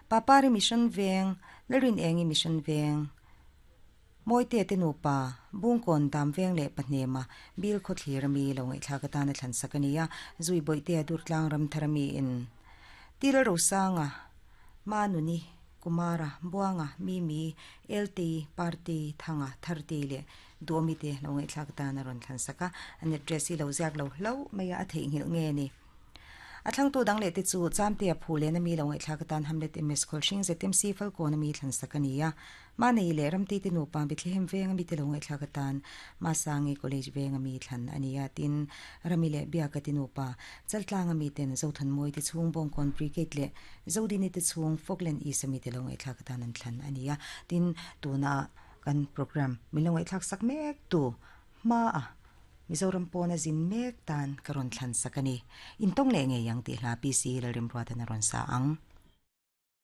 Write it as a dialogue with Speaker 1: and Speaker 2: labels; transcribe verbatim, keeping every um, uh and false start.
Speaker 1: Papari Mission Veng Lalrin Engi Mission Veng Mawite te nupa Bungkawn Dam Veng leh Pahnema Bil Khawthlir ami lo ngaihthlak atana thlan sak a ni a Zui Bawihtea Durtlang Ramthar ami in Til Rosanga Manuni Kumara Buanga Mimi L T Party Thanga Tharte leh Duhawmi te lo ngaihthlak atana rawn thlan sak a an address hi lo ziak lo hlo mai a a theihnghilh nge ni. A thlangtu dang leh te chu Chamtea phu len ami lo ngaihthlak atan Hamlet M S Khawlhring Z M C Falkawn ami thlan sak a ni a. Manei leh Ramtei te nupa Bethlehem veng ami te lo ngaihthlak atan Masangi College veng ami thlan a ni a. Tin, Rami leh Biaka te nupa Chaltlang ami ten Zothanmawi te chhung Bawngkawn Brigade leh Zodini te chhung Falkland East ami te lo ngaihthlak atan an thlan a ni a. Tin, tuna kan program min lo ngaihthlak sak mek tu hma a Mizoram pawna zin mek tan ka rawn thlan sak a ni. Intawng leh ngei ang tih hla P C Lalrimruatan a rawn sa ang.